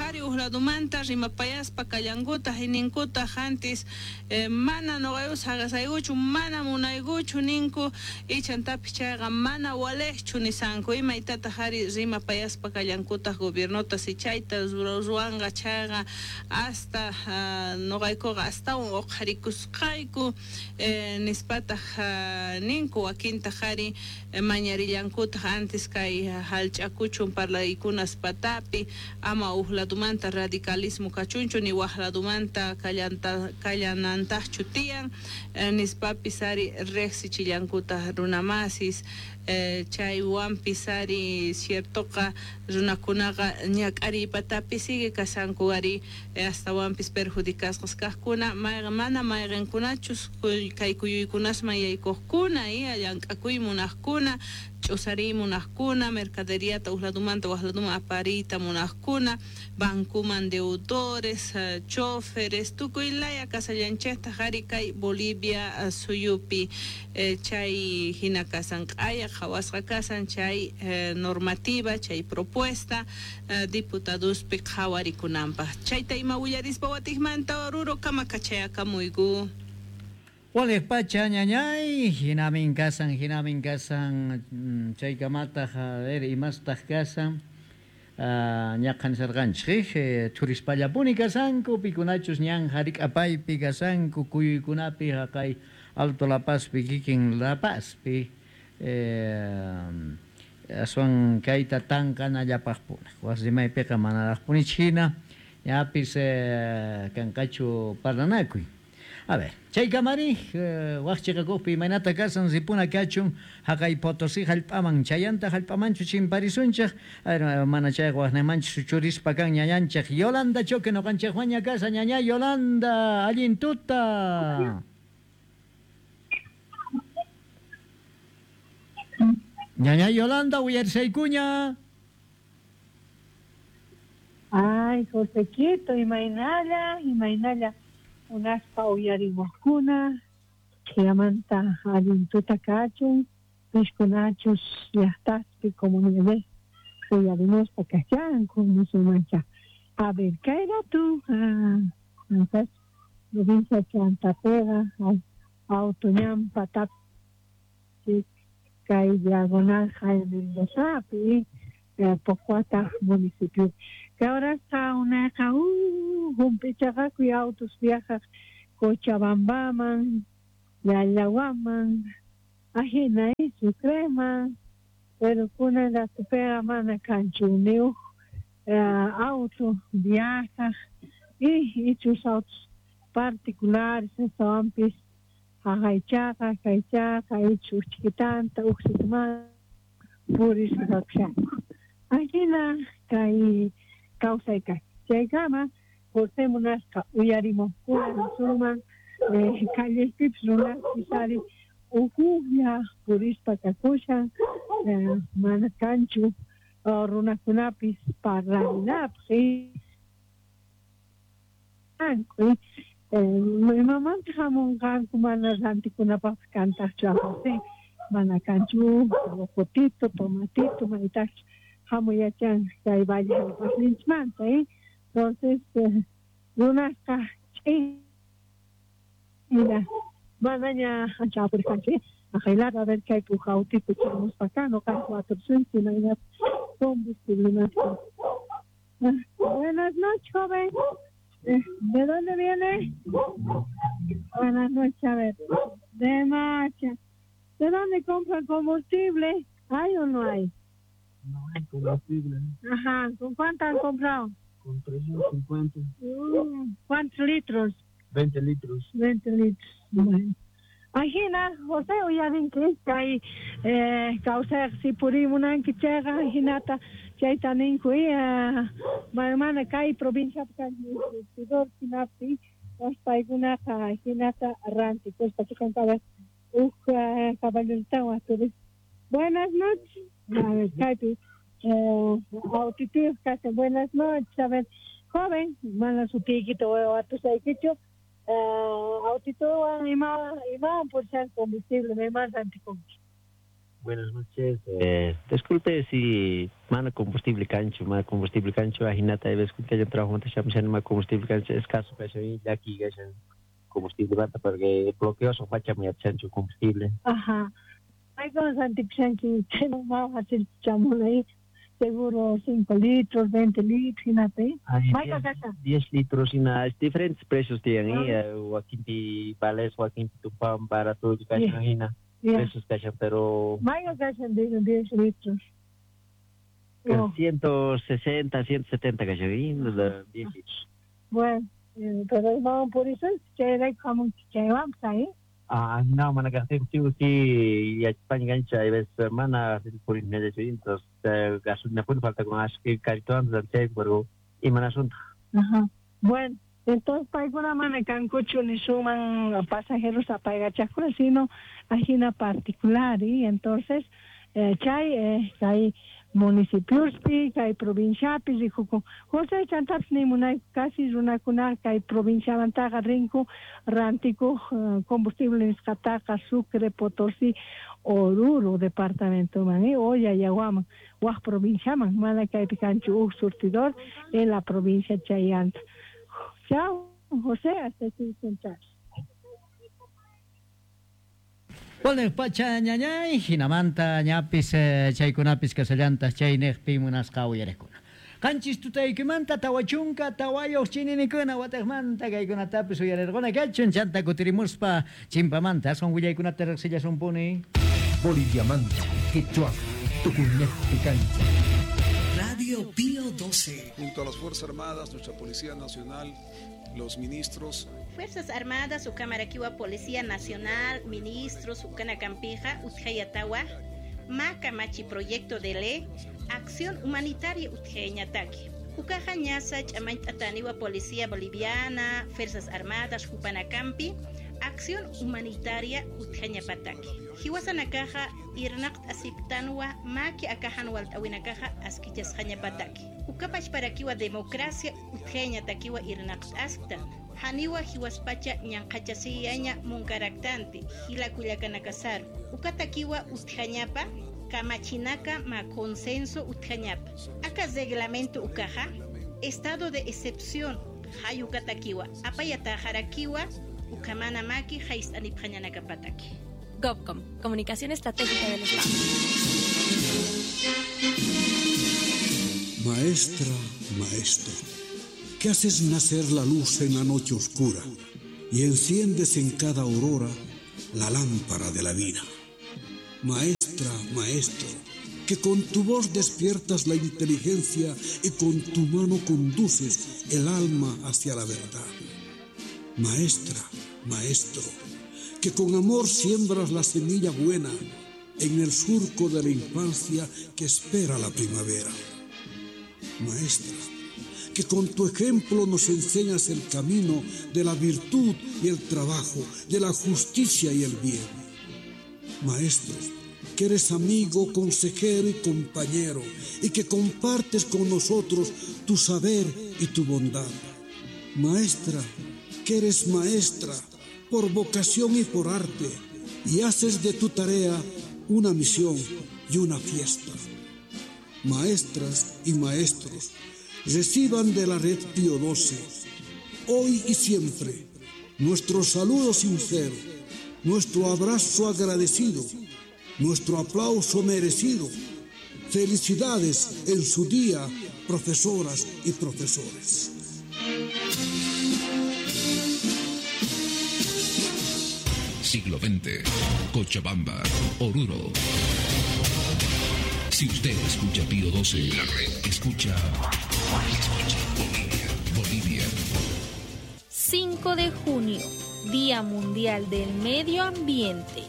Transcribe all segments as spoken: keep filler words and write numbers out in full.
Ari uqladumanta rimapayaspa kallankutaq ninkutaq antis eh, mana nuqayku saqasaykuchu mana munaykuchu ninku ichantapis chayqa mana waliqchu nisanku imaytataq ari rimapayaspa kallankutaq gobiernota si chayta ruwanqa chayqa hasta uh, nuqaykuqa astawan uqharikusqayku eh, nispataq uh, ninku wakintaq ari eh, mañarillankutaq antes kay hallch'akuchun parlaykunas patapi ama uqladumanta radicalismo kachunchu ni waqladumanta kallanta kallanantaqchu tiyan eh, nispapis ari riqsichillankutaq runamasis eh, chaywanpis ari ciertoqa runakunaqa ñak'ariypatapi sigue kasanku ari eh, astawanpis perjudicasqas kaqkuna mayqa mana mayqinkunachus kay kuyuykunasman yaykuqkuna y llank'akuy munaqkuna ch'usariy munaqkuna mercaderiata uqladumanta waqladuman apariyta munaqkuna bancuman deudores uh, choferes tukuy laya kasallanchiktaq ari kay Bolivia uh, suyupi eh, chay hina kasan q'aya qhawasqa kasan chay eh, normativa chay propuesta uh, diputadospi qhawarikunanpaq chayta ima willarispa watiqmanta Oruro kamakachaykamuyku. Waliq pacha ñañay, hinamin kasan, hinamin kasan, chaykamataq, a ver, imastaq kasan, ñaqan sarqanchik, turispallapuni kasanku, pikunachus ñan harik'apaypi kasanku, kuyuykunapi haqay Alto La Pazpi, kikin La Pazpi, eh, aswan kayta tanqanallapaqpuni, wasimaypiqa manaraqpunichik hina, ñapis eh, kanqachu parlanakuy. A ver, chaykamari, waqchiqakuqpi imaynata kasan ripuna kachun haqay Potosí hallp'aman chayanta hallp'amanchu chimparisunchik, mana chayqa waqnaymanchu suchurispa kan ñañanchik Yolanda Choque nuqanchikwanña kasa ñaña Yolanda, allin tuta. Ñaña Yolanda, uyarisaykuña. Ay, Josequito, imaynalla, imaynalla. Unaspa uyarimuqkuna, chaymanta allin tuta kachun, pishkunachus llaqtaspi comunidades uyarimuspa kachanku musulmancha. A ver, kay ratu, ah, provincia Chantapega, auto ñan patapi, kay diagonal Jaime Mendozapi, Pocuata municipio. Que ahora está una uh, humpichaqakuy autos viajaq Cochabambaman, Llallawaman, ajina Sucreman, pero kunan ratupiqa mana kanchu ni huk auto viajaq y ichus autos particulares astawanpis haqaychaqa kaychaqa ichu uchkitanta uqsitumanta purisqa kakushanku. Ajina kay kawsay kay chaykama José munasqa uyarimuqkuna nisunman eh, callespipis runapis ari uqhuklla purispa kakushan eh, mana kanchu uh, runakunapis parlarinapaq eh, imamanta hamunqanku mana rantikunapaqpis kantaqchu José mana kanchu rocotito, tomatito, maytaqchu hamuyachan kay valle hallp'asninchikmanta, eh? Entonces, eh, runasqa ch'in manaña ancha apurkanchik, aqaylata a ver kaypi huk autito chamuspa kan nuqanchik watursunchik imaynata combustible. Buenas noches, joven. ¿De dónde viene? Buenas noches, a ver. De Macha. ¿De dónde compran combustible? ¿Hay o no hay? No hay combustible. Ajá, ¿con cuánto han comprado? Con trescientos cincuenta. Mm, ¿cuántos litros? veinte litros. veinte litros. Bueno. Ajina, José, uyarinki, kay eh, kawsayqa si purimunanki chayqa hinata chayta ninku eh, mana kay provinciapi kanki surtidor hinapi paykunaqa hinata rantikuspa chiqantaqa huk caballerotawan turis. Buenas noches. A ver, kaypi eh, autituyuq kashan. Buenas noches. A ver, joven, mana sutiykita watusaykichu. Uh, autituwan ima imawan purishan combustible imaman rantikunki. Buenas noches. Eh, disculpe si mana combustible cancho, mana combustible cancho, ajinata ves que yo trabajo ma combustible cancho, escaso que ya aquí combustible bata porque bloqueo son facha muy chancho combustible. Ajá. Hay con antipsanki, no hacer chamunay, seguro cinco litros, veinte litros, hinate. diez litros y nada, diferentes precios tienen, eh, wakinti vales, wakinti tupan barato, hina. Precios cachan, pero Mayo cachan de diez litros. Oh. ciento sesenta, ciento setenta cachan, diez litros. Bueno, eh, pero vamos por eso, che como che vamos ahí. Ah, no, mana que sí, y España gancha, y ves, mana por entonces gasolina puede falta con así carito antes del che, pero y mana asunto. Ajá. Bueno, entonces paykuna mana kankuchu ni suman pasajeros apaygachakuna, sino ajina particular, y entonces eh, chay eh, chay municipiospi, kay provinciapi rikukun. José chantapis nimunay casi runakuna kay provinciamantaqa rinku rantikuq uh, combustible nisqataqa Sucre, Potosí, Oruro departamentoman, eh, o Yayaguaman, waq provinciaman, mana kaypi kanchu huk surtidor en la provincia Chayanta. Chao, José, hasta aquí. Waliq pacha ñañay, hinamanta ñapis eh, chaykunapis kasallantas chayniqpi munasqa uyariqkuna. Qanchis tutaykimanta tawachunka tawayuq chininikuna wataqmanta kaykunatapis uyarirquna kachun chanta kutirimuspa chimpamanta aswan willaykunata riqsillasunpuni. Boliviamanta, Quechua, Tucuñejpi cancha. Radio Pío doce. Junto a las Fuerzas Armadas, nuestra Policía Nacional, los ministros. Fuerzas Armadas, Ucamaraquiwa Policía Nacional, ministros, Ucanacampija, Utjayatawa, Maca Machi Proyecto de Ley, Acción Humanitaria Utjeñataki. Ucaja Ñasa, Chamañtataniwa Policía Boliviana, Fuerzas Armadas, Jupanacampi, Acción Humanitaria Utjañapataki. Hiwasanakaja, Irnaqt Asiptanwa, Maki Akajanwalt Awinakaja, Askichasjañapataki. Ukapachparakiwa Democracia Utjeñatakiwa Irnaqt Askta. Haniwa hiwaspacha ñanqachasiyaña munkaraktanti, hilakullakanakasaru. Ukatakiwa utjañapa, kamachinaka ma consenso utjañapa. Aka reglamento ukaja, estado de excepción, hayukatakiwa, apayatajarakiwa, ukamana maki, jaistanipjañanakapataki. GovCom, Comunicación Estratégica del Estado. Maestra, maestro, que haces nacer la luz en la noche oscura y enciendes en cada aurora la lámpara de la vida. Maestra, maestro, que con tu voz despiertas la inteligencia y con tu mano conduces el alma hacia la verdad. Maestra, maestro, que con amor siembras la semilla buena en el surco de la infancia que espera la primavera. Maestra, que con tu ejemplo nos enseñas el camino de la virtud y el trabajo, de la justicia y el bien. Maestro, que eres amigo, consejero y compañero, y que compartes con nosotros tu saber y tu bondad. Maestra, que eres maestra por vocación y por arte, y haces de tu tarea una misión y una fiesta. Maestras y maestros, reciban de la red Pío doce, hoy y siempre, nuestro saludo sincero, nuestro abrazo agradecido, nuestro aplauso merecido. Felicidades en su día, profesoras y profesores. Siglo veinte, Cochabamba, Oruro. Si usted escucha Pío doce, la red escucha, escucha Bolivia, Bolivia. cinco de junio, Día Mundial del Medio Ambiente.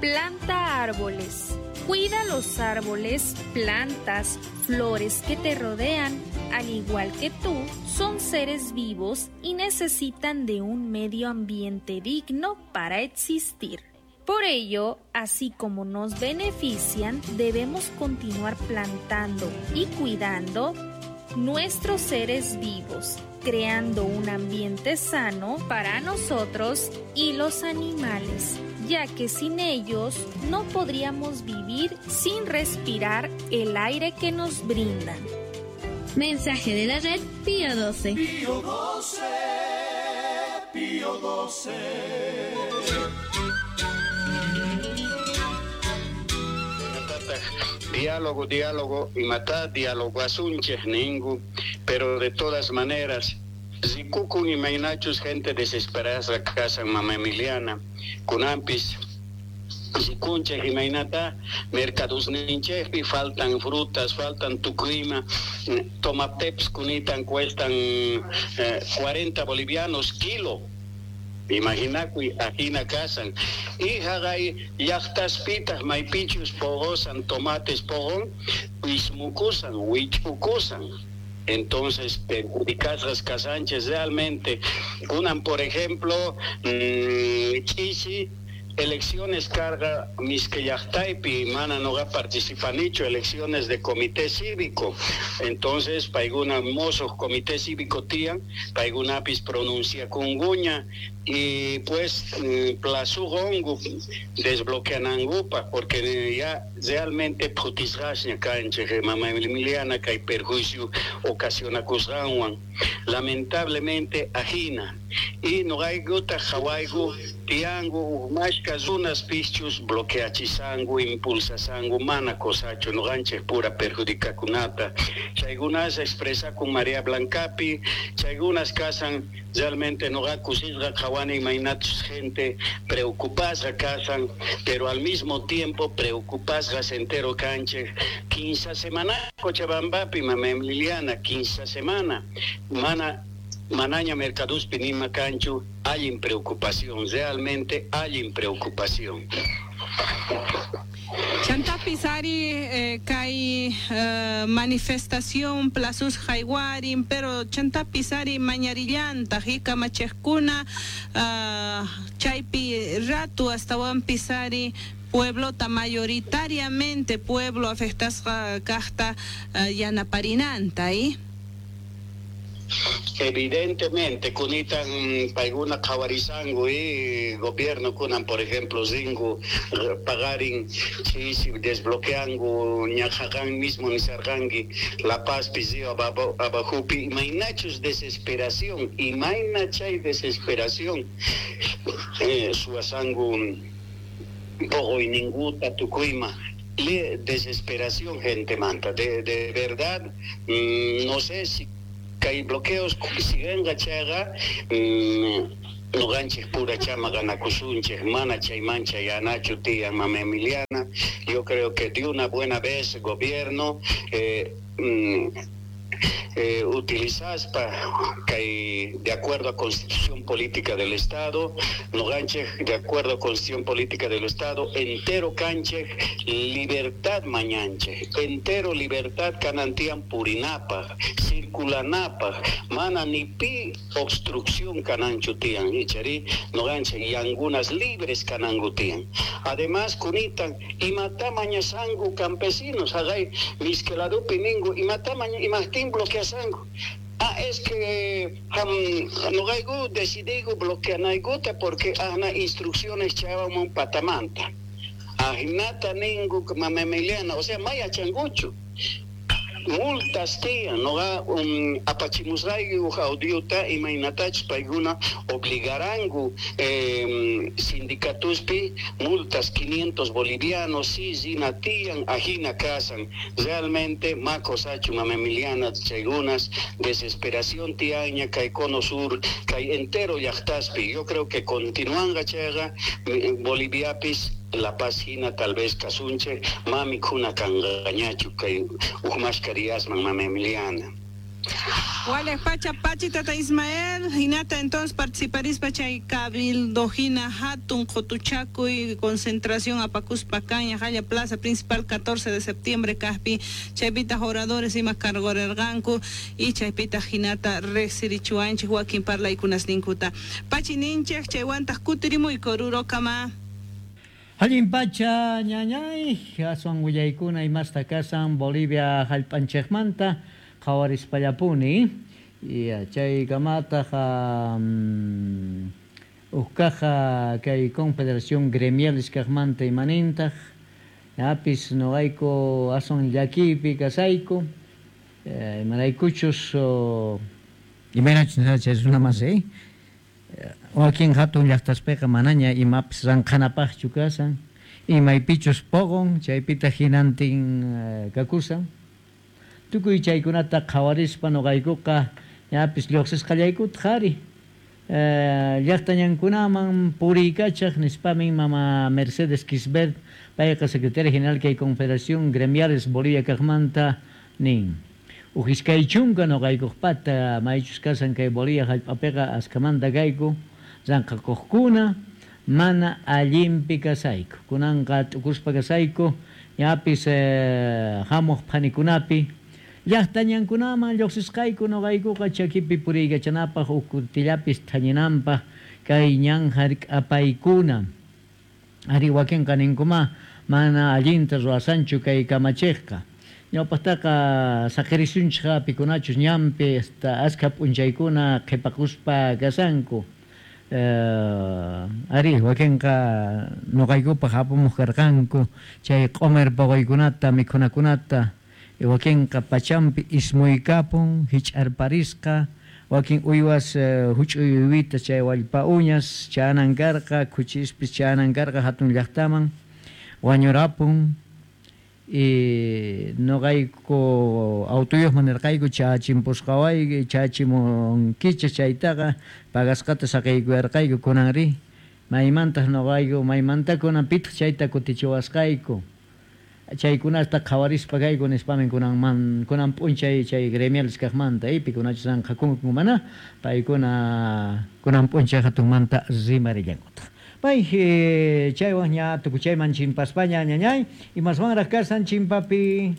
Planta árboles. Cuida los árboles, plantas, flores que te rodean. Al igual que tú, son seres vivos y necesitan de un medio ambiente digno para existir. Por ello, así como nos benefician, debemos continuar plantando y cuidando nuestros seres vivos, creando un ambiente sano para nosotros y los animales. ya que sin ellos no podríamos vivir sin respirar el aire que nos brindan. Mensaje de la red Pío doce. Pío doce, Pío doce. Diálogo, diálogo, y matá diálogo asunche ningu, pero de todas maneras, Zikukun y mainachus gente desesperada casa mamá Emiliana, kunampis, Zikunche y mainata, mercados ninchepi, faltan frutas, faltan tucrima, tomateps kunitan cuestan eh, cuarenta bolivianos kilo. Imaginakuy ajina kasan. Y jagay llaqtaspitaq maypichus pogosan tomates pogon, ismukusan, wich'ukusan. Entonces, perjudicadas casanches realmente. Unan, por ejemplo, mmm, chichi, elecciones carga misquellaqtaypi, mana no ga participanicho, elecciones de comité cívico. Entonces, paiguna mozos comité cívico tian, paigunapis pronuncia kunguña, y pues plazugongu desbloqueanangupa, porque ya realmente putisgasña canche, mamá Emiliana, que hay perjuicio ocasiona cusganwan. Lamentablemente, ajina. Y no hay guta jawaigu, tiangu, mashka zunas pichus, bloqueachisangu, impulsasangu, mana cosacho, no ganche pura perjudica kunata. Chaygunas expresa con María Blancapi, chaygunas casan, realmente no ga kusisga jawani mainatus gente preocupada casan, pero al mismo tiempo preocupadas entero canche. Quince semana, Cochabambapi, mamá Liliana, quince semana, mana Manaña Mercaduspi nima canchu, hay preocupación, realmente hay preocupación. Chantapis ari eh, kay eh, manifestación plazus jaywarin, pero chantapis ari mañarillanta jikamachejkuna uh, chaypi ratu hasta ari pueblota mayoritariamente pueblo afectasqa kaqta uh, yanaparinanta, ¿eh? Evidentemente, kunitan paiguna qhawarisangu y gobierno kunan, por ejemplo, zingu pagarin chisi desbloqueangu ñaqhaqan mismo nisarqanki La Paz pisio abajupi, imaynachus desesperación, imaynachay desesperación eh, suasangu poqoyninguta tukuyma. Le desesperación gente manta, de, de verdad, mmm, no sé si hay bloqueos siguen gachaga no ganches pura chama ganakusunches mana chaymancha yanachu tía mama Emiliana. Yo creo que de una buena vez gobierno eh, mm, eh, utilizaspa que de acuerdo a Constitución Política del Estado, no ganche de acuerdo a Constitución Política del Estado, entero canche libertad mañanche, entero libertad canantian purinapa, circulanapa, mana ni pi obstrucción cananchutian, ichari, no ganche y angunas libres canangutian. Además, cunitan, y matamañasangu campesinos, agay, misqueladupi ningu, y matamaña, y mastín bloqueasangu. Ah, es que um, no gaigu decidigo bloqueanaiguta porque ahna instrucciones chavamun patamanta. Ajnata ningu mamemeliana, o sea, maya changucho. Multas tía, no ga um, apachimusraigu audiota y mainatach paiguna obligarangu eh, sindicatuspi multas quinientos bolivianos, sí, zina tian, ajina casan. Realmente, macosachu, mamemiliana, chaigunas, desesperación tiaña, caicono sur, cai entero yachtaspi. Yo creo que continúan gachaga, boliviapis, La Paz hina tal vez kasunche, mami kuna kangañachu kay uhmashkariasman mama Emiliana. Wale pacha pachi tata Ismael, hinata entonces participarispa chay cabildo hina hatun qotuchakuy concentración apakuspa caña jaya plaza principal catorce de septiembre kaspi chaypita oradores ima cargorerganku y chaypita hinata rexirichuanchik wakin parlaykunas ninkuta. Pachi ninchej chaywantaq kutirimuy korurokama. Allin pacha ñañay, aswan willaykuna imasta kasan Bolivia hallp'anchikmanta qhawarispallapuni. Y chay kamataq um, Uqkaqa kay Confederación Gremiales kaqmanta imanintaq ñapis noqayku aswan llakiypi kasayku eh, imaraykuchus imaynachus chay runa masi wakin hatun llaqtaspiqa manaña imapis ranqhanapaqchu kasan imaypichus poqon chaypitaq hinantin kakusan tukuy chaykunata qhawarispa noqaykuqa ñapis lluqsisqallaykutaq ari llaqtañankunaman puriykachaq nispamin mama Mercedes Quisbert payqa secretaria general kay Confederación Gremiales Bolivia kaqmanta nin uj iskay chunka noqaykuqpata maychus kasan kay Bolivia hallp'apiqa askamanta kayku ranqhakuqkuna mana allinpi kasayku kunanqa t'ukuspa kasayku ñapis hamuq phanikunapi llaqtañankunaman lluqsisqayku noqaykuqa chakipi puriykachanapaq uj kutillapis thañinanpaq kay ñan hark'apaykuna ari wakinqa ninkuma mana allinta ruwasanchu kay kamachiqqa ñawpaqtaqa saqirisunchikqa pikunachus ñanpi hasta askha p'unchaykuna qhipakuspa kasanku ari wakinqa noqaykupaq apamuq karqanku chay q'umir puquykunata mikhunakunata wakinqa pachampi ismuykapun hich'arparisqa wakin uywas huch'uy uywita chay wallpa uñas chanan karqa khuchispis chanan karqa hatun llaqtaman wañurapun y noqayku autoyuqman nirqayku chachimpusqawayki chachimunkichik chaytaqa pagasqata saqaykuyarqayku kunanri maymantaq noqayku maymanta kunan pitaq chayta kutichiwasqayku chaykunata qhawarispa kayku nispamin kunanman kunan p'unchay chay gremiales kaqmanta pikunachus ranqhakunku mana paykuna kunan p'unchay hatunmanta rimarillankutaq pay chaywan ña tukuchayman chimpaspaña ñañay imaswanraq kasan chimpapi.